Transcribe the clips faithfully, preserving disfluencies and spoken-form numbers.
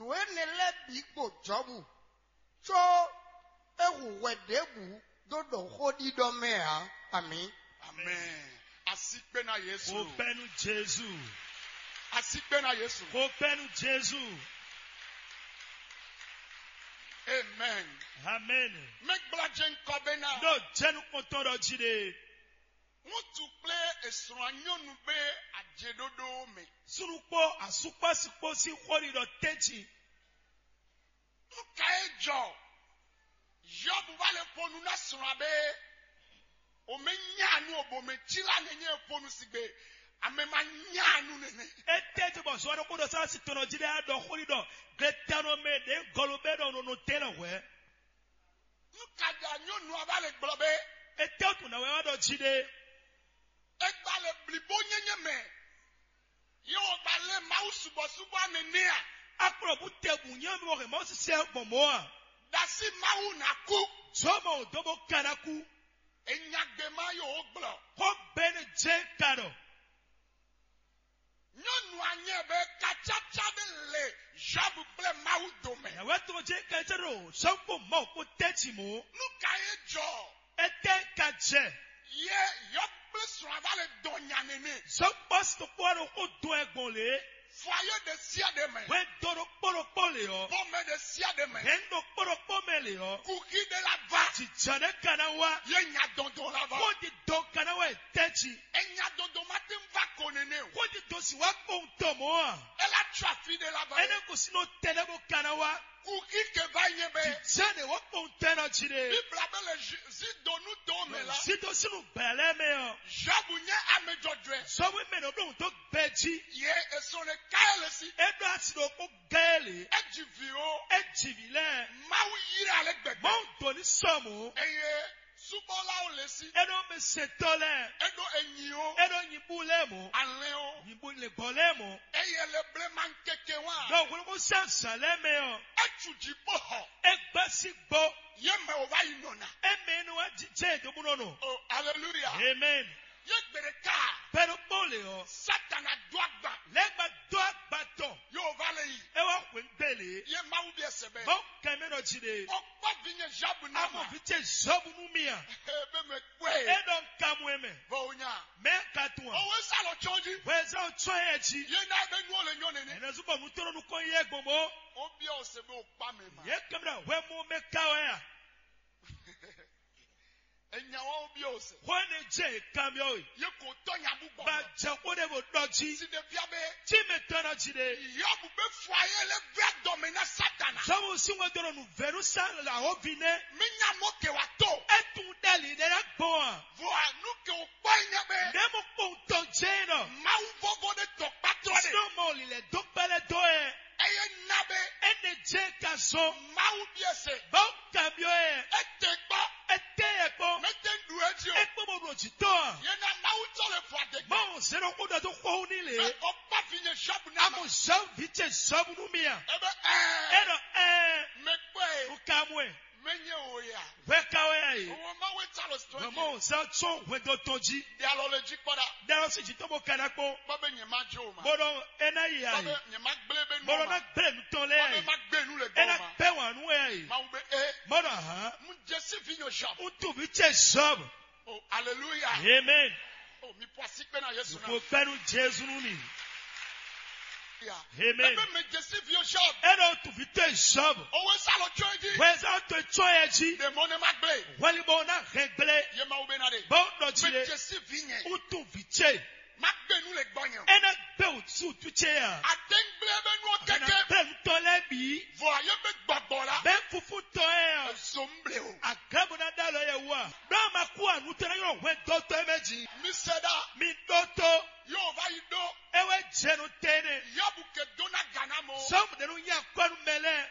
Nǔ énɛ́ lɛ́ɛ bǐ gbo Jɔbu, có é hu hwɛ ɖěbǔ dó ɖɔ xó ɖiɖɔ mɛ ǎ. Amǐ. Amen. Asi kpe na Yesu. Kó pɛ́ nú Jezu. Asi kpe na Yesu. Kó pɛ́ nú Jezu. Amen. Amen. Mɛ gbla jɛ ŋkɔ be na. Ɖo jɛnukpɔntɔn ɖɔ jí ɖe. Ŋutsu kplé esrɔ́ nyɔnu be ajeɖoɖo mɛ. Súnnu kpó asú kpó asi kpó sín xó ɖiɖɔ tɛ́ntin. Nú ka é jɔ, Yɔbu wá lɛ xo nú ná srɔ́ abé, o mɛ nya nu o bo mɛ cí lá nɛ nyɛ xo nú sigbe, ame ma nya nu nɛnɛ. Étɛ́ te bɔ zɔ ɖokpó ɖɔ sá si tɔnɔ jí ɖé á ɖɔ xó ɖi ɖɔ gletɛnɔ mɛ ɖě gɔlo bɛ ɖɔ nɔ nɔ tɛ́ lɔ hwɛ̌. Nú ka ɖa nyɔnu aba le gblɔ bé, étɛ́ tun nǎ wɛ wá ɖɔ jí ɖé. É gba le blibo nyɛnyɛ mɛ. Yehowa lé Mawu subɔsubɔ ame nɛ́ a? Akplɔ bú te bǔ nyɛ mi wɔ hɛn Mawu sisɛ gbɔn mɔ̌ a? Dasi Mawu ná kú. Zɔmɔ ò dó bó ka ná kú. Enyagbe ma yǒ gblɔ. Xó gbe ne jɛ ka ɖɔ. Nyɔnu anyɛ bɛ kacaca ɖe le Job kple Mawu dome. Yàwé tó jẹ́ kẹ́tẹ́ ɖo sɔ́kpó Mawu kpó tɛ́ ci mɔ̌. Nú ka ye jɔ? Étɛ́ ka jɛ? Ye Job kple srɔ̃ ava le dɔn nya nɛnɛ. Sɔ́kpó sɔ́kpó ɖo xó dɔn ɛ gbɔn lě. Fɔ ayé ɖe sia ɖe mɛ. Hwɛ dó ɖokpó ɖokpó lě ɔ́. Bɔ mɛ ɖe sia ɖe mɛ. Hɛn ɖokpó ɖokpó mɛ lě ɔ́. Kuxi ɖe la va. Jìjà ɖé ka ná wá. Ye nya dɔndɔn la va. Kó di dɔn ka ná wá tɛ́ ci. Enya dɔndɔn ma te va ko nɛnɛ o. Kó di dɔn si wá kpɔn tɔ mɔ̌ a? Ela tsɔ afi ɖe la va. Énɛ́ ko sinɔ tɛnɛ bó ka ná wá. Kuxi ke va nyɛ bɛ. Jìjà ɖé wá kpɔn tɛ nɔ jí ɖe. Bibla bɛ le zi do nu do mɛ la. Zi do sínú bɛlɛ mɛ ɔ. Job nyɛ ame jɔjɔɛ. Sɔmu mɛ nɔ ɖo tó gbɛ jí. Ye esɔn le Kael si. E ɖo asi ɖo kó Gael. E ji vi o. E ji vi lɛ. Mawu yra le gbɛgbɛ. Mawu doni sɔmu. Eye subɔlawo le si. E ɖo mɛ sɛtɔ lɛ. E ɖo enyi o. E ɖo nyibu lɛ mɔ. Alɛ o. Nyibu le gbɔ lɛ mɔ. Eye le blema keke wa. Ɖɔ wolobo sɛn zan lɛ mɛ ɔ. Etu dziƒo xɔ. E gbɛ si gbɔ. Ye mɛ o va yi nɔna. E mɛ nu wa jijɛ domunɔ nɔ. Oh, hallelujah. Amen. Ye gbe ɖeka. Bɛɖo kpɔn le ɔ. Satana do agba. Lɛ gba do agba tɔ. Yo va le yi. E wa xwe gbele. Ye Mawu bi ɛsɛ bɛ. Mawu kɛ mɛ ɖɔ ji ɖe. O kpɔ vi nye Job na ma. Amɔ vi ce Job nu mi a. Ebe me kpɔe. E ɖɔ nkamu e mɛ. Vɔ o nya. Mɛ ka tun a. Owe sa lɔ tsɔn ji. Wɛ sa o tsɔn yɛ ji. Ye na ebe nu o le nyɔ nene. Ɛnɛ zubɔ nu tɔrɔ nu kɔn yɛ gbɔn bɔ. O bi o se be o kpa mɛ ma. Ye kɛmɛ ɖɔ wɛ mo mɛ ka wɛ a. Enya wɔn bi o se. Xɔ ne dze kanbyɔ we. Ye ko tɔ nya bu gbɔ. Ba jɛ ko ɖe bo ɖɔ ji. Si ɖe fia be. Ji mɛ tɔn na ji ɖe. Yɔbu be fɔ ayé le vɛ dɔme na Satana. Sɔmu si ŋɔ dɔrɔn nu vɛnu sa la o vi nɛ. Mi nya mɔ ke wa to. Etun ɖe li ɖe la gbɔn a. Vɔ anu ke o kpɔ nya be. Ne mo kpɔn tɔn jɛ nɔ. Mawu vɔvɔ ɖe tɔ kpatɔ ɖe. Sɔmɔ li lɛ dɔ kpɛlɛ dɔ yɛ. Eye na be. Ene dze ka zɔn. Mawu bi ese. Bɔ kanbyɔ yɛ. Ete gbɔ. Ete yɛ kpɔ. Mete ɖu edzi o. Ekpɔ bɔ ɖo dzi tɔ a. Ye na Mawu tɔ le fɔ adegbe. Mawu zɛnɛ ko ɖɔ to xɔwu ni le. Be o kpa fi nye Job na ma. Amu zɔn vi ce zɔbu nu mi a. Ebe ɛɛ. E ɖɔ ɛɛ. Me kpɔ ye. O ka mu ɛ. Me nye o ya. Hwɛ ka wɛ ya ye. Owó Mawu ta lo sɔ. Mawu zan tsɔn hwɛndo tɔn ji. De alɔ le dzi kpɔ ɖa. Ɖe ɔ si dzi tɔn bo ka na kpɔn. Bɔ be nye ma jo ma. Bɔ ɖɔ e na yi a Bɔ yi. Be nye ma gblẽ be nu Bɔ ɖɔ ma. Na gblẽ nu tɔn lɛ Bɔ a be yi. Ma gbe nu le E gbɔ na ma. Gbɛ wǎn nú wɛ a yi. Mawu be e. Bɔ ɖɔ hã. Mu Jesse vi nyɔ Job. Ŋutsuvi ce Job. Oh, hallelujah. Amen. Oh, mi pɔ asi kpe na Yesu na. Ko pɛnu Jesu nu mi. Yeah. Amen. Ebe me Jesse vi Job. E ɖo ŋutsuvi ce Job. Owe sa lo tsɔ edzi. Wɛ sa to tsɔ yɛ dzi. Demon ne ma gblẽ. Wali bɔ na hɛn gblẽ. Ye Mawu be na de. Bɔ ɖɔ dzi Me le. Jesse vi nye. Ŋutsuvi ce. Ma gbe nu le gbɔ nyɛ. Ena gbe o su tu ce ya. Atengble be nu Ena keke. Gbe ŋutɔ lɛ bi. Vɔ ye be gbɔgbɔ la. Bɛ fufu tɔ yɛ. Zomble o. Agabo na da lɔ yɛ wa. Dɔ ma ku anu tɛ na yɔ hwɛ dɔtɔ mɛ dzi. Mi se da. Mi dɔtɔ. Yóò va yi ɖó. Ewe jɛnu tɛnɛ. Yɔbu ke dó ná gǎ ná mɔ. Sɔmu de nu nya kɔnu mɛ lɛ.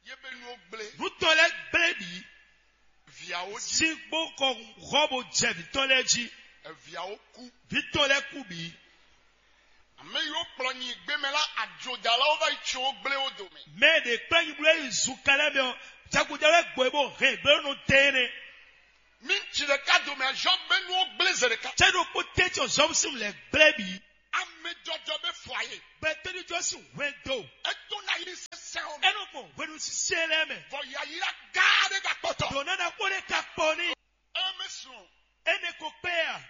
Ye be nuwo gblé. Nutɔ lɛ gblé bi. Viawo dzi. Sígbó kɔ hɔ bo jɛ vǐtɔn lɛ jí. Eviawo kú. Vǐtɔn lɛ kú bi. Ame yiwo kplɔ nyi gbɛmɛ la adzodalawo va yi tso wo gblé wo dome. Mɛ ɖe kplɔ nyi blo yi zu kalɛ mɛ ɔ, jagunjalɛ gbɔ bo hɛn gbɛlɛ nɔ tɛnɛ. Mi tsi ɖeka dome azɔ be nuwo gblé ze ɖeka. Cɛ ɖo kpó tɛ tsɔ zɔm sim lɛ gblɛ bi. Ame jɔjɔ be fɔ aye. Bɛ tɛni jɔ si hwɛndo. Eto na yi sɛsɛ É nɔ gbɔn hwenu sise lɛ́ɛ mɛ. Vɔ yayla gáá ɖé ka kpɔtɔ. Dǒ nana kpó ɖé ka kpɔ n'i. Eme sùn. Énɛ́ ko kpé a?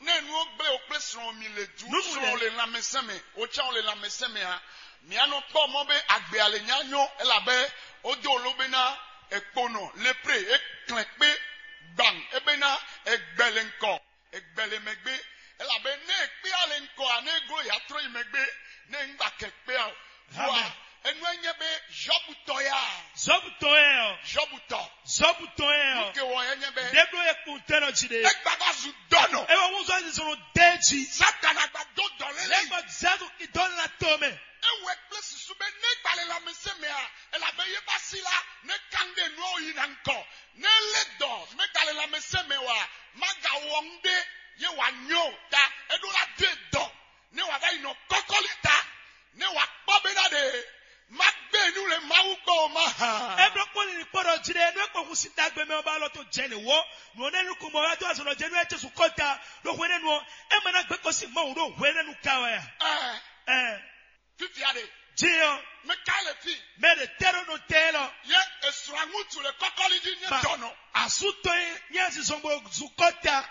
Ne nu ɔ́ gblé o kplé srɔn mi le du. Nunu srɔn lɛ le lanmɛsɛn mɛ, o tsɛ o le lanmɛsɛn mɛ a? Mia nɔ kpɔ mɔ be agbe ale nya nyɔ elabe o do lo be na ekponɔ lepre e klɛn kpé gban e be na egbɛlɛ nkɔ egbɛlɛ mɛ gbé. Elabe ne ekpé ale nkɔ a ne glo ya trɔ yi mɛ gbé ne un gba kɛ kpé a o. Vua Amen. Enu e nye be Job tɔ ya. Job tɔ yɛ ɔ. Job tɔ. Job tɔ yɛ ɔ. Ke wɔ e nye be. Ɖe ɖo ekun tɛ nɔ dzi ɖe. Egba va zu dɔnɔ. Ewɔ ŋun zɔn zizɔn de dzi. Satana gba do dɔ lele. Lẹ́gbọ̀n zẹ́nu ìdánilá tó mẹ́. Ewɛ kple susu be ne gbalẽ lãmesẽ mɛ a, elabe ye va si la, ne kan ɖe nua yi na ŋkɔ. Ne lé dɔ me gbalẽ lãmesẽ mɛ wa, ma ga wɔ ŋu ɖe, ye wa nyɔ ta, e ɖo la de dɔ. Ne wàá va yi nɔ kɔkɔlí ta, ne wàá kpɔ́ bé ná ɖe, má gbé nú le Mawu kpɔ́ o má ha. Eblo kpɔ́n lili kpɔ́ ɖɔ jí ɖe nú é kpɔ́n hun sin ɖagbe mɛ ɔ́ ba lɔ tó jɛ nǔ wó. Nǔ ɔ́ nɛ́ nukun mɔ wá dó azɔ̌ jɛ nú é cé su kɔ́ta. Ɖo hwenɛ́nu ɔ́, é ma ná gbé kɔ́ sin Mawu ɖo hwenɛ́nu ka wɛ a? Ɛɛ, Ɛɛ, fifia ɖe, jí ɔ́, mɛ ka le fi? Mɛ ɖe tɛ́ ɖo nɔ tɛ lɔ. Ye esrɔ̃ ŋutsu le kɔkɔlí jí nye Ba dɔnɔ. Asu tɔn ye nyɛ zizɔn bo zu kɔ́ta.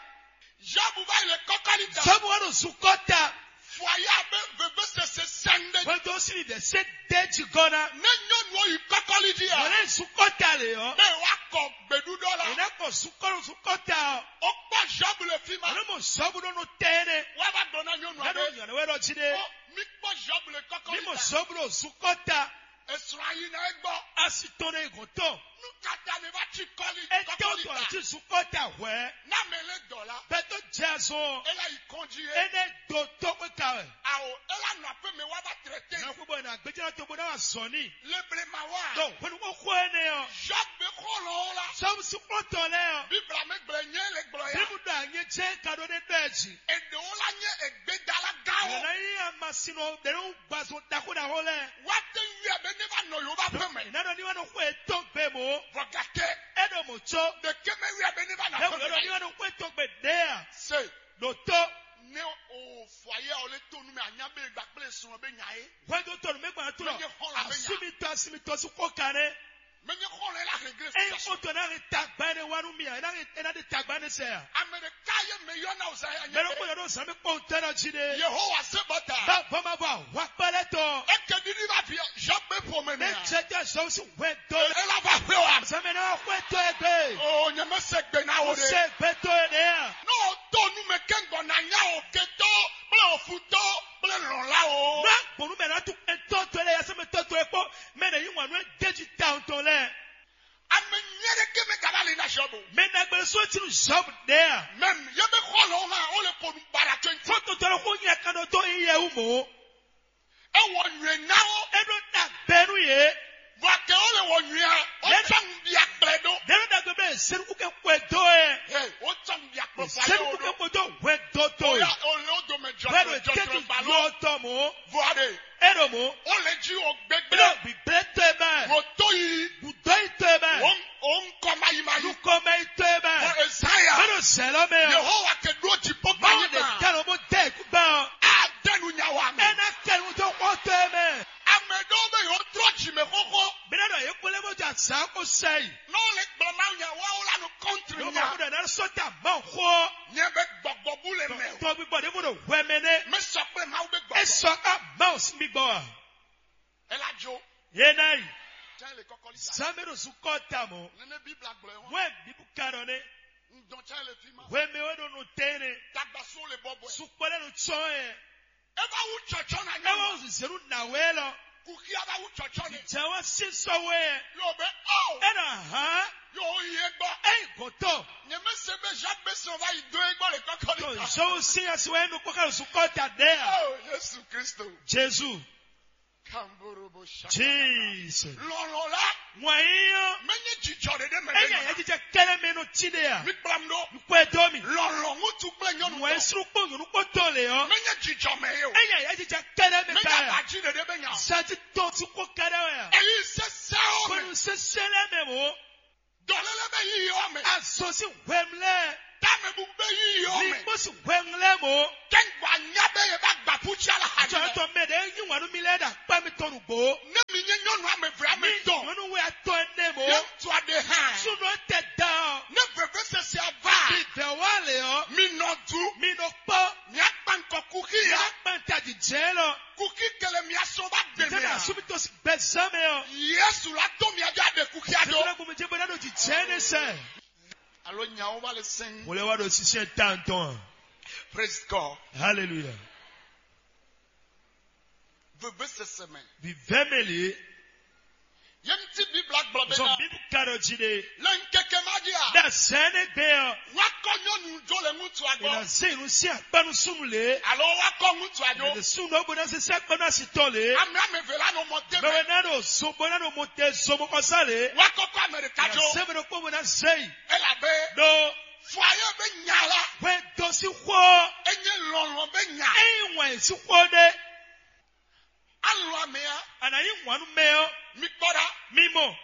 Job va yi le kɔkɔlí ta. Job wá ɖo zukɔ ta. Fɔ ya be veve sese sɛnde. Wento si mi vɛ se de dzi gɔna. Ne nyɔnu yi kɔkɔli dzi a. Wòle zukɔ ta le ɔ. Ne wa kɔ gbeɖuɖɔ la. Ena kɔ zukɔ zukɔ ta ɔ. O kpɔ Job le fi ma. Alo mo Job ɖo no tɛ ne. Wa va gblɔ na nyɔnu a. Yɛrɛ yɛrɛ wɛ ɖɔ dzi ɖe. Ko mi kpɔ Job le kɔkɔli ta. Mi mo Job ɖo zukɔ ta. Esrɔ̃ ayi na egbɔ. Asi tɔn ɖe gɔn tɔn. Nu kata ne va tsi kɔli. Ete o tɔ ati zukɔ ta hwɛ. N'a mɛ lé dɔ la. Bɛtɔ jɛ zɔn. Ela yi kɔn dzi ye. Ene do tɔgbe ka wɛ. Awo ela nɔ aƒe mɛ wa va trɛtɛ. Na kpɔ bɔ na gbɛjɛ na to bo na wa zɔni. Le blema wa. Donc hwenu ko xɔ ene ɔ. Job be xɔlɔ o la. Sɔmu si kpɔtɔ lɛ ɔ. Bibla mɛ gblɛ nyɛ le gblɔ ya. Bibu da nye jɛ ka ɖo ne ɖɔ ji. Eɖewo la nye egbedala gawo. Yɛlɛ yi amasinɔ ɖe nu gbazɔ ɖaxo ɖaxo lɛ. Wa te yu ya be ne va nɔ yo va ƒe mɛ. Ina ɖɔ ni wa nɔ xɔ etɔn gbe mo. Vɔ gake. E ɖo mo tso. Ɖeke mɛ wi ya be ne va nɔ Ne ƒe wòle ɖɔ ni mɛ. Wa nɔ xɔ etɔn gbe ɖe a? Se. Ɖo to. Ne o fɔ ayé o le to nu mɛ anya be gba kple sun be nya ye. Hwɛndo tɔnu mɛ gbɔn ato lɔ. Menye xɔlɔ be nya. Asumi tɔ asumi tɔ su ko kan ne. Menye xɔlɔ la regret. Eyi ko to na re tagba ne wa nu mi a, na re na de tagba ne sɛ a. Ame ɖeka ye mɛ yɔ na o sa ya nye. Mɛ ɖo ko yɔ ɖo zan mi kpɔn tɛ nɔ dzi ɖe. Yehowa se bɔ ta. Ba bɔ ma bɔ wa kpɛ lɛ tɔ. Eke ɖiɖi va fi Job be ƒome mɛ. Ne jɛ jɛ zɔn si hwɛ do. Ela va xwe wa. Zan mɛ na wa xwɛ tɔ egbe. O nye me se gbe na o de. Se gbe to ye de a. N'o to nu mɛ kɛngɔ na nya o ketɔ kple ofutɔ kple lɔla o. Nua gbɔnu mɛ na tu etɔ to ye de ya se mɛ tɔ to ye kpɔ. Mɛ ne yi ŋwa nu e de ji ta o tɔ lɛ. Ame nyɛ ɖe ke mɛ gaba le na Job o. Mɛ na gbɛ so ti nu Job de a. Mɛ ye be xɔlɔ hã o le ko nu bara twenty. Fo to tɔ ko nya kan do to yi ye wu mo. Ewɔ nyuie na wo. E ɖo na bɛnu ye. Vɔ ke wo le wɔ nyuie a, o Ɖe- tsɔ ŋdi akplɛ ɖo. Ɖe ɖo dagbe be senuku ke kwe do ye. He, o tsɔ ŋdi akplɛ fa ye o Senuku ke ɖo. Kwe do hwe do to ye. Oya o le o dome Hwe do jɔjɔ jɔjɔ tetu gbalo. Yɔ tɔ mo. Vɔ aɖe. E ɖo mo. O le dzi o E gbegbe. Ɖo gbigble to ye mɛ. Wo to yi. Gudɔ yi to ye mɛ. O o ŋkɔ mayi mayi. Nukɔ mɛ yi to ye mɛ. Vɔ Ezaya. E ɖo zɛlɔ mɛ o. Yehowa ke ɖo dziƒo Mawu kpanyi ɖe ma. Tɛ lo mo de ikú gbɛ o. Ade nu nya wa mɛ. E na kɛ nu to xɔ to ye mɛ. Ame ɖewo be yewo trɔ dzi mɛ xoxo. Bena ɖɔ ye kpɔlɛ bó dza zã ko sɛ yi. N'o le gblɔ Mawu nya wawo la nɔ kɔntri Ɖo nya. Mawu ɖe na sɔ ta Mawu xɔ. Nye be gbɔgbɔ bu le mɛ o. Tɔ gbígbɔ ɖe bó ɖo hwɛ mɛ nɛ. Me sɔ kple Mawu be E gbɔgbɔ. Sɔ ká Mawu sí gbígbɔ a. Ela dzo. Ye na yi. Tsɛ le kɔkɔli sa. Zan mɛ ɖo zukɔ ta mɔ. Nene Bibla gblɔ ye hɔn. Wɛ bibu ka ɖɔ ne. Ŋdɔn tsɛ le fi ma. Hwɛ mɛ wɛ ɖo nɔ tɛ ne. Tagbaso le bɔbɔe. Sukpɔ lɛ ɖo tsɔ yɛ. Eva wu tsɔtsɔ na nyɔnu. Ewa wu zenu na wɛ lɔ. Kuxia va wu tsɔtsɔ ne. Jɛ wa si sɔ wɛ. Yɔ be ɔ. E na hã. Yɔ yi egbɔ. Eyi gɔtɔ. Nye me se be Jacques be sɔn va yi do egbɔ le kɔkɔ To ne ta. Zɔn si asi wɛ nu kpɔkɛ zukɔ ta ɖe a. Oh Yesu Kristo. Jesu. Kamborobo shaka. Jesus. Lɔlɔ la. Ŋwa yi yɔ. Menye jijɔ ɖe ɖe me. Enya ya jijɛ kɛlɛ mɛ no ti ɖe a. Mi kplam ɖo. Kpɛ dɔ mi. Lɔlɔ ŋutsu kple nyɔnu Ŋwa tɔ. Sru kpɔ nyɔnu kpɔ tɔ le yɔ. Menye jijɔ mɛ ye o. Enya ya jijɛ kɛlɛ mɛ ka ya. Menye abaji ɖe ɖe be nya o. Sati tɔ ti kpɔ kɛlɛ ya. Eyi sese o me. Kɔnu sese lɛ mɛ mo. Dɔléle be yíyí ɔ́ mɛ. Azɔn sín hwɛmlɛ. Támɛbú be yíyí ɔ́ mɛ. Ní kpó sín hwɛmlɛ mɔ. Kɛ́ngbɔ́ anyá be ye bá gbà fúntsí ala hàní mɛ. Jɔ̀wọ́ tɔ mɛ ɖe yí wǎn nú mi lɛ́ɛ ɖo akpá mitɔn nǔgbó. Ní mi nyé Nyɔnu ame eve ame Ní tɔn. Nyɔnu wɛ atɔ́ énɛ́ mɔ. Yɛ ŋutsu aɖe hã. Súnɔ tɛ da ɔ. Ne veve sese ava. Vivɛ wa le ɔ. Mi nɔ du. Mi nɔ kpɔ. Mia kpan kɔ kuxi ya. Mia kpan ta di jɛ lɔ. Kuxi kele mia sɔ va gbɛ Jɛ mɛ na a. Subi to si gbɛ zan mɛ ɔ. Yesu la to mia ja de kuxi a do. Jɛ na gbɔmɔ jɛ bɔ na do di jɛ ne sɛ. Alo nyawo va le sɛn. Wòle wa ɖo sisɛ tantɔn. Praise God. Hallelujah. Veve sese mɛ. Vivɛ mɛ le. Yɛn ti Bibla gblɔ bɛ Sɔ na. Bibu ka ɖɔ ji ɖe. Le nkeke ma di a. Da sɛnɛ gbɛ ɔ. Wa kɔ nyɔnu jo le ŋutsu Ina agbɔ. Se nu si akpanu sunu le. Alo wa kɔ ŋutsu ajo. Ina sunu ɖo bo na se se akpanu asitɔ le. Ame ame ve la nɔ mɔ te Bɛ mɛ. Wɛ na ɖo so bo na ɖo mo te so mo kɔ sa le. Wa kɔkɔ Amerika Ina jo. Se mɛ ɖo kpɔ bo na se yi. Elabe. Ɖo. Fɔ ayé be nya la. Wɛ dɔ si xɔ. Enye lɔlɔ be nya. Eyi wɛn si xɔ ɖe. Alɔ ame ya. Ana yi wanu mɛ ɔ. Mi kpɔ ɖa. Mi mɔ.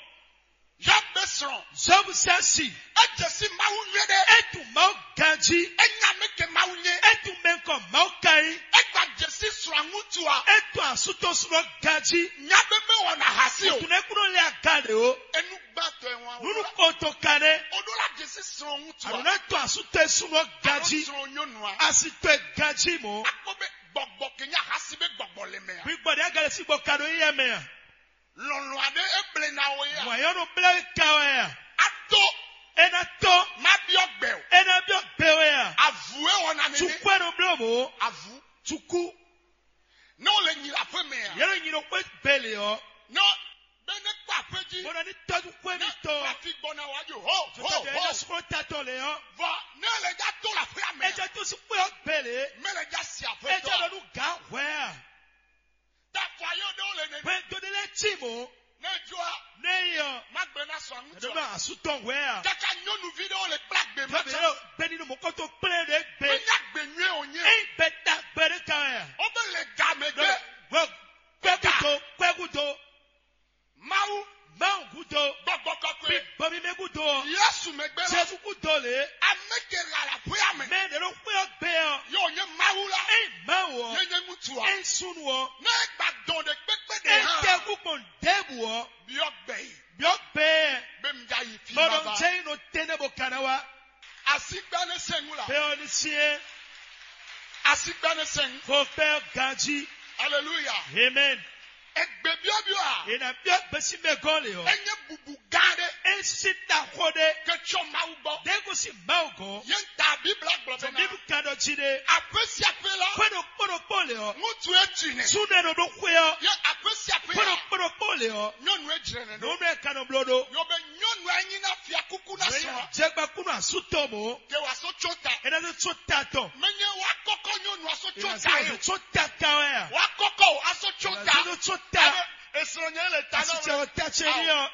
Yɔb be srɔn. Zɔbu sasi. Edze si Mawu nyuie ɖe. Etu Mawu ganji. Enya mɛ ke Mawu nye. Etu mɛ kɔ Mawu kanyi. Egba dze si srɔn ŋutu a. Etu asutɔ srɔn ganji. Nya be me wɔna hasi o. Tunɛ kuno le aga de o. Enu gbatɔ ɛ wɔn. Nunu koto kanɛ. O ɖo la dze si srɔn ŋutu a. Anu ne to asutɔ srɔn ganji. Srɔn nyɔnu a. Asitɔ ganji mɔ. Akpɔ be gbɔgbɔ kenya hasi be gbɔgbɔ le mɛ a. Gbigbɔ ɖe agale si gbɔ ka ɖo yɛ mɛ a. Lɔlɔ̃ aɖe eble na wo ya. Wayɔnu bla ka wɛ a. Ato. Ena tɔ. Ma biɔ gbɛ o. Ena biɔ gbɛ wɛ a. Avu ewɔ na nene. Tukwe no blo mo. Avu. Tuku. Ne wole nyi le aƒe mɛ a. Yɛlɛ nyi no kpe gbele ɔ. Ne be ne kpɔ aƒe ji. Bona ni tɔju kwe mi tɔ. Afi gbɔna wa jo ho ho ho. Jɔjɔ yɛlɛ sukɔ tatɔ le ɔ. Vɔ ne le ja to le aƒe mɛ. Eja to si kpe ɔ gbele. Me le ja si aƒe tɔ. Eja lɔ nu ga hwɛ a. Tafɔ ayé ɖewo le nene. Hwɛ do ɖe lɛ tsi mo. Ne jɔ a. Ne yi ɔ. Ma gbe na sɔ ŋutsu. Ɖo asutɔ hwɛ a. Kaka nyɔnuvi ɖewo le kpla gbe ma tsa. Bɛ yɔ gbɛni ɖo mɔkɔtɔ kplɛ ɖe gbe. Menya gbe nyuie o nye. Eyi bɛ ta gbe ɖe ka wɛ a. O bɛ le ga mɛ gbe. Wɛ kwɛ gudo kwɛ gudo. Mawu. Mawu gudo. Gbɔgbɔ kɔkɔe. Bɔ mi mɛ gudo ɔ. Yesu mɛ gbe la. Jesu gudo le. Ame ke la la ƒe ame. Mɛ ɖe ɖo xwé ɔ gbe ɔ. Yɔ nye Mawu la. Eyi Mawu ɔ. Nye nye ŋutsu a. Eyi sunu ɔ. Ne gba dɔn ɖe kpekpe ɖe hã. Eyi tɛ kú kpɔn ɖěbǔ ɔ. Biɔ gbɛ yi. Biɔ gbɛ. Be mi ja yi fi baba. Bɔdɔ jɛ yi nɔ tɛnɛ bo kana wa. Asigba ne sɛngu la. Bɛ ɔ ni sie. Asigba ne sɛngu. Ko pɛ ganji. Hallelujah. Amen. Egbe biɔbiɔ a. Ena biɔ gbesi mɛ gɔn le ɔ. Enye bubu gã ɖe. Esi ta xɔ ɖe. Ke tsɔ Mawu gbɔ. Ɖe ko si Mawu gɔn. Ye ta Bibla gblɔ bɛ na. Bibu ka ɖɔ ji ɖe. Aƒe sia aƒe la. Xwe ɖo kpɔɖo kpɔ le ɔ. Ŋutsu etsi nɛ. Sunɛ ɖo ɖo xwe ɔ. Ye aƒe sia aƒe la. Xwe ɖo kpɔɖo kpɔ le ɔ. Nyɔnu edzre nɛ ɖo. Nyɔnu eka nɔ blɔ ɖo. Yɔ be nyɔnu enyi na fia kuku na sɔ. Jɛgba kunu asu tɔ mo. Ke wa so tso ta. Ena so tso ta tɔ. Menye wa kɔkɔ nyɔnu aso tso ta yo. Tso ta ka wɛ a. Wa kɔkɔ o aso tso ta. Ena so tso ta. Esrɔnyɛ le ta na wɛ. Asitsɛ o ta tse ni ɔ.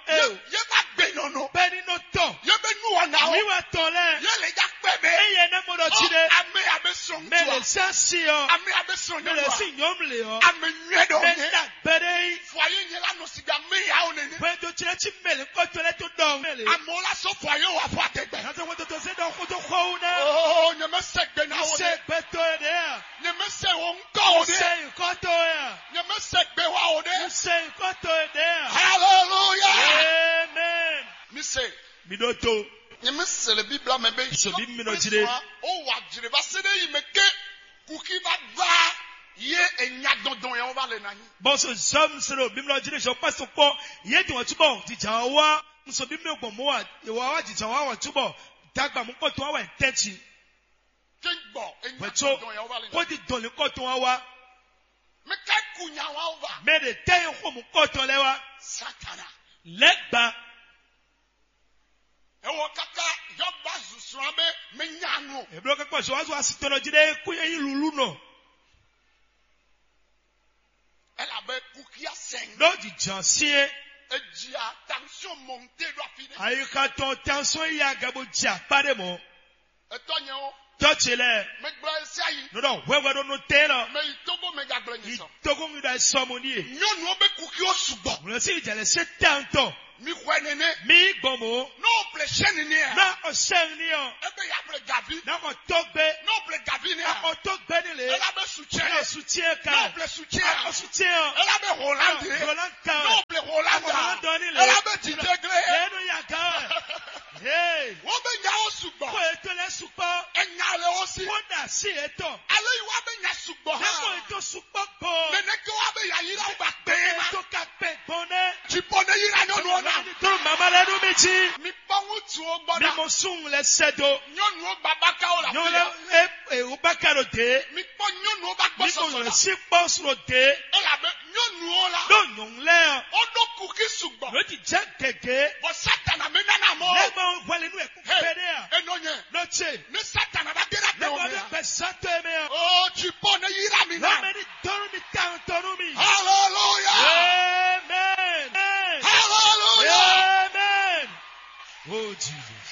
Ye ba gbe nɔnɔ. Bɛni nɔ tɔ. Ye be nu wa na o. Mi wa tɔ lɛ. Ye le ja kpɛ bɛ. Eye ne mo ɖɔ tsi ɖe. Ame abe sɔn ŋutsu a. Mɛ le si asi ɔ. Ame abe sɔn nyɔnu a. Mɛ le si nyɔnu le ɔ. Ame nyuɛ dɔ nye. Mɛ ta gbɛ ɖe yi. Fɔ ye nye la nɔ si da me ya o nene. Hwɛndo tsi ɖe tsi mɛ le kɔtɔ lɛ to dɔn mɛ le. Amewo la sɔ fɔ ye wa fɔ atɛgbɛ. Nase hwɛndo to se dɔ koto xɔwu nɛ. Oo, nyɛmɛsɛ gbe na wo Se ne. Gbɛtɔ ye ɖe a. Nyɛmɛsɛ wo ŋkɔ wo ne. Se kɔtɔ ye a. Nyɛmɛsɛ gbe wa wo ne. Se kɔtɔ ye ɖe a. Hallelujah. Amen. Mi se. Mi ɖo to. Nyɛmɛsɛ le Bibla mɛ be. So bi mi nɔ dzi ɖe. O wa dzi ɖe va se ɖe yi me ke. Kuki va gba ye enya dɔndɔn ya wo va le na nyi. Bɔn so zɔm se ɖo bimlɔ dzi ɖe zɔ kpa so kpɔ ye dun ɔtú bɔ didza wa wa nso bimlɔ gbɔn mo wa ye wa wa didza wa wa tú bɔ dagba mo kpɔ tɔn wa wa tɛ tsi. Ke gbɔ enya dɔndɔn ya wo va le na. Kó di dɔn le kɔ tɔn wa wa. Mɛ ka ku nya wa wo va. Mɛ ɖe tɛ ye xɔ mo kɔ tɔn lɛ wa. Satana. Lɛ gba. Ewɔ kaka Yɔba zu srɔ̃ be me nya nu. Eblo kakpa zɔ wa zɔ asitɔnɔ dzi ɖe kú ye yi lulu nɔ. Elabe kukia sɛn. Ɖo dzi dzɔn sie. Edzia tension monté ɖo afi ɖe. Ayixa tɔn tension yi aga bo dzi akpa ɖe mɔ. Etɔ nyɛ o. Tɔ ce lɛ. Megblɔ esi ayi. Nɔ ɖɔ hwɛhwɛ ɖo nɔ te lɔ. Mɛ yi Togo mɛ gagblɔ nyɛ sɔ. Togo mi ɖo esɔ mo ni ye. Nyɔnuwo be kukiwo sugbɔ. Wòle si dze le se tantɔ. Mi xɔe nene. Mi gbɔn mo. N'o ple sɛn nene a. Na o sɛn ni ɔ. Ebe ya ple gavi. Na o tɔ gbe. N'o ple gavi ne a. Na o tɔ gbe ni le. Ela be su tiɛ. Na o su tiɛ ka. N'o ple su tiɛ a. Na o su tiɛ ɔ. Ela be Hollande. Hollande ka. N'o ple Hollande. Ìbọn ní yíra nyɔnu ɔ́ ná. Dɔrɔn mama lɛ nú mi jí. Mi kpɔ́n ŋutsuwo gbɔ ná. Mi mɔ súnnu lɛ sɛ do. Nyɔnuwo gba bákáwó la. Nyɔnu lɛ e e o bákà ɖo dé. Mi kpɔ́n nyɔnuwo bá gbɔ sɔsɔ la. Mi mɔ sí kpɔ́ sro dé. Elabe nyɔnuwo la. Ɖo nyɔnu lɛ ɔ. Ó ɖó kuxí sugbɔ. Ló ti jɛ gɛgɛ. Bɔ Satana mi nana mɔ. Lɛ ma wɛlɛ nú ɛ kú pɛɖɛ a. Enɔ nyɛ. Ló tse. Ní Satana bá dé ɖe Lɛ ma wɛlɛ pɛ sátɔ ɛ mɛ a. O Jibɔ ní yíra mi ná. Lɔ mɛ ní dɔrú mi tán tɔrú mi. Hallelujah. Amen. Hallelujah. Amen. Oh Jesus.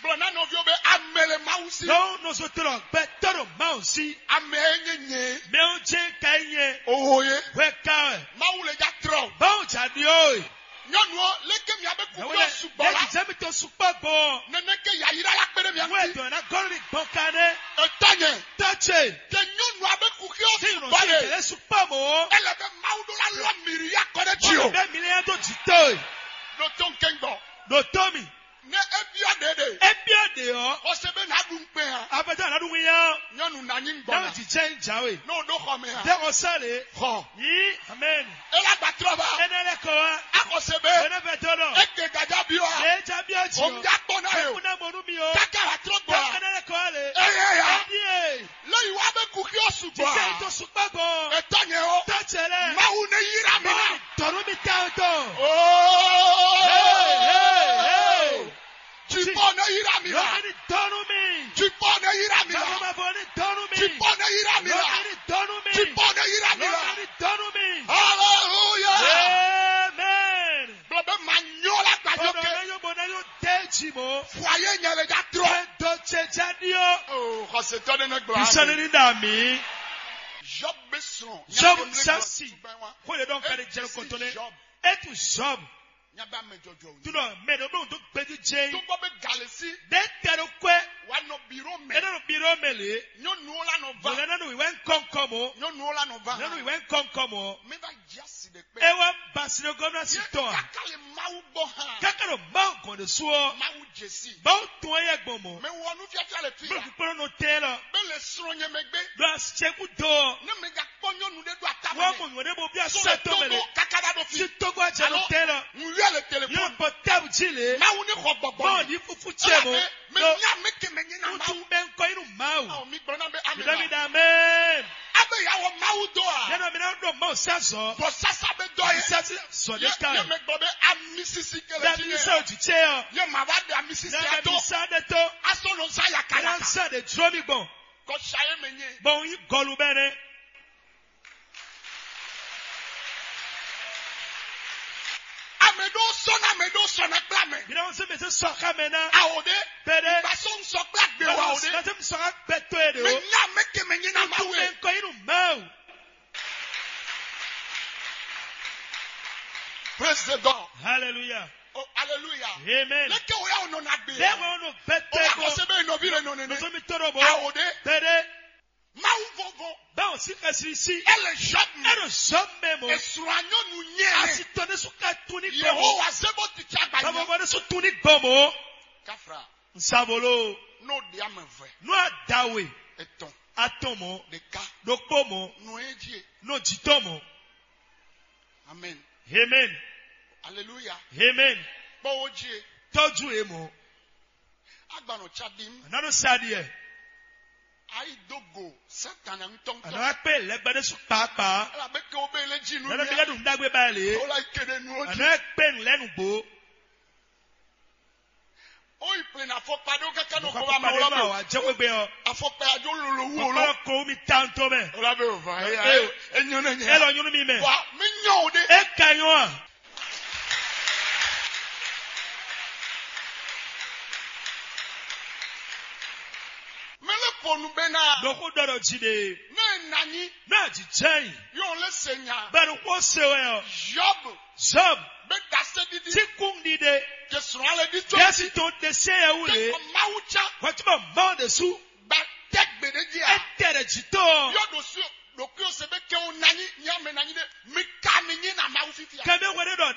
Gblɔ ná nɔviwo be ame le Mawu si. Não nos outros bɛ todo mal si. Ame e nye nye. Meu je ka nye. Oho ye. Weka. Mawu le ja trɔ. Bão ja dio. Nyɔnuwo, leke mia be kuku yɔ sugbɔ la? Lẹ́yìn jẹ́ mi tó sukpọ́ gbọ́. Nene ke yayira la kpe ɖe mia ŋuti. Wọ́n ẹ̀dọ̀ ná gɔ́rì gbɔn ka nɛ. Etɔ nyɛ. Tɔ́tsẹ̀. Ke nyɔnu abe kuku yɔ sugbɔ le. Ìrànṣẹ́ ìjẹ́lẹ̀ sukpọ́ mọ́. Ele be Mawu ɖo la lɔ miri ya kɔ ɖe dzi o. Bẹ́ẹ̀ mi lè yẹn tó jì tó e. Ɖo tó ŋkɛngbɔ. Ɖo tó mi. Ne e biɔ ɖe ɖe. E biɔ ɖe ɔ. Xɔse be na ɖu ŋkpɛ hã. Afɛtɛ anaɖu ŋu yá. Nyɔnu na nyi ŋgbɔ na. Náà ti jẹ́ ń jáwé. N'o ɖo xɔ mɛ hã. Dé xɔ sá le. Xɔ. Yí. Amen. Ela gba trɔ ba. Ene lɛ kɔ wa. Akɔse be. Ene fɛ tɔ nɔ. Eke gaja bi wa. Lee ja bi ɔ ti. O ŋja kpɔ na ye o. Kuna mɔnu mi o. Kaka wa trɔ gbɔ. Ene lɛ kɔ wa le. Eye ya. Edi ye. Lẹ́yìn wá bẹ kú kí ó sùn gbọ́. Jíjẹ́ ìtò sùpẹ́ gbọ́. Ẹ̀tọ́ yẹn o. Tọ́jẹ́ lẹ. Máwo ní yíra mi náà. Tọ̀rú mi tẹ́ ọ tọ̀. Ooo. Hey, hey, hey. Jìbọn ní yíra mi náà. Lọ́kì ní dọ́nú mi. Jìbọn ní yíra mi náà. Bàbá bàbá ní dọ́nú mi. Jìbọn ní yíra mi náà. Lọ́kì ní dọ́nú mi. Jìbọn ní yíra mi náà. Lọ́kì ní dọ́nú mi. Hallelujah. Amen. Bọ̀dọ̀ bẹ́ẹ̀ máa nyọ́ lágbàdo kẹ́. Bọ̀dọ̀ bẹ́ẹ̀ yóò bọ̀ náà yóò dé jì mọ́. Fún ayé yẹn lè já trọ́. Ẹ dɔ cɛ jáde o. Oh, xɔsetɔ ɖe ne gblɔ. Isɔni ni da mi. Job bɛ sɔn. Job sasi. Ko le dɔn kari jɛ kɔntɔn ne. Job. E tu Job. Nyaba mɛ jɔjɔ. Tu nɔ mɛ ɖo ɖo do gbɛdu jɛ. Tó gbɔ bɛ galesi. De tɛ ɖo kɔɛ. Wa nɔ biro mɛ. E nɔ biro mɛ le. Nyɔnuwo la nɔ va. Bɔlɛ nɔ wɛ nkɔnkɔn mɔ. Nyɔnuwo la nɔ va. Nɔ wɛ nkɔnkɔn mɔ. Mi va jasi ɖe kpɛ. E wá basi ɖe gɔmna si tɔ a. Kaka le Mawu gbɔ hã. Kaka ɖo Mawu gɔn ɖe su ɔ. Mawu jesi. Mawu tún eye gbɔn mɔ. Mɛ wɔ nu fiafia le fi. Bolo kpɔnɔ nɔ tɛ lɔ. Bɛ le srɔn nyɛ mɛ gbe. Ɖo asɛku do. Ne mɛ ga kpɔ nyɔnu ɖe ɖo ata mɛ. Wɔ mɔ nyɔ ɖe bo bi asɛ tɔ mɛ le. Kaka ɖa ɖo fi. Si togo ajɛ lɔ tɛ lɔ. Ŋu yɔ le telefɔni. Yɔ bɔ tɛbu ji le. Mawu ne xɔ gbɔgbɔ. Mawu ni fufu cɛ mo. Mɛ nya mɛ kɛmɛ nyina Mawu. Ŋutsu bɛ ŋkɔ inu Mawu. Awo mi gblɔ na bɛ amina. Bidɔ mi da amen. Abe ya wɔ Mawu dɔ a? Yɛn mi na ɖo Mawu sá zɔ. Bɔ sasa bɛ dɔ ye. Sasa zɔ de ka. Ye mɛ gbɔ bɛ amisisi kɛlɛ ti ye. Dami sa ojú tse yɔ. Ye ma va de amisisi ato. Dami sa de to. Aso lɔ sa yaka yaka. Sa de dúró mi gbɔn. Kɔ sa ye mɛ nye. Bɔn yi gɔlu bɛ ne. Ame ɖo sɔ na ame ɖo sɔ na kple ame. Mi na wọn se mɛ se sɔ xa mɛ na. Awo ɖe. Bɛ ɖe. Ba sɔ ŋsɔ kple agbe wa o ɖe. Na se ŋsɔ xa gbɛ to ye ɖe o. Mɛ nya ame ke mɛ nyi na ma we. Ŋutsu mɛ ŋkɔ yi nu Mawu. Praise the God. Hallelujah. Oh, hallelujah. Amen. Leke o ya o nɔ na gbe. Bɛɛ wọn nɔ bɛ tɛ bɔ. O ya kɔ se bɛ nɔvi le nɔ nene. Nɔvi mi tɔrɔ bɔ. Awo ɖe. Bɛ ɖe. Mawu vɔvɔ. Báwo sí ka siri sí? Ele Job mɛ. Eno Job mɛ mɔ. Esrɔ̃ anyɔnu nyɛ. Asi tɔ ne su ka tun ní gbɔ mɔ. Yehowa se bó ti tsa gba nyɛ. Báwo bɔ ne su tun ní gbɔ mɔ. Kafra. Nsabolo. N'o di ame vɛ. N'o adawe. Etɔn. Atɔn mɔ. Ɖeka. Ɖokpo mɔ. N'o edzi. N'o dzitɔ mɔ. Amen. Amen. Hallelujah. Amen. Kpɔwo dzi. Tɔju ye mɔ. Agbanɔ tsa ɖim. Ananu sa ɖiɛ. Ayi do go Satan ŋutɔŋutɔ. Ana akpe lɛgbɛ ɖe su kpaakpaa. Ala be ke wo be le dzi nu. Nana mi ka ɖu nudagbe ba le. Ola ke ɖe nu o dzi. Ana akpe nu lɛ nu gbo. O yi ple na afɔkpa ɖo kaka nɔ ko ba ma ola be. Wa jɛ wegbe ɔ. Afɔkpa ya jo lolo wu olo. Kɔkɔ ko mi tan to mɛ. Ola be o va ya. Enyo ne nyɛ. Elɔ nyunu mi mɛ. Wa mi nyɔ o de. E ka nyɔ a. Mele ponu bena. Ɖoxo ɖɔ ɖɔ dzi ɖe. Ne nanyi. N'a dzi jɛ yi. Yɔ le se nya. Bɛnu kpɔ se wɛ ɔ. Job. Job. Be da se didi. Ti kun ɖiɖe. Ke srɔ̃ ale di tso. Yasi to ɖe se yɛ wu le. Ke kɔ Mawu tsa. Wàtí ma mɔ ɖe su. Gba tɛ gbe ɖe dzi a. Etɛ ɖe dzi to. Yɔ ɖo su. Ɖokuiwo se be ke wo nanyi. Nya me nanyi ɖe. Mi ka mi nyi na Mawu fifia. Kɛmɛ wɛ ɖe ɖɔ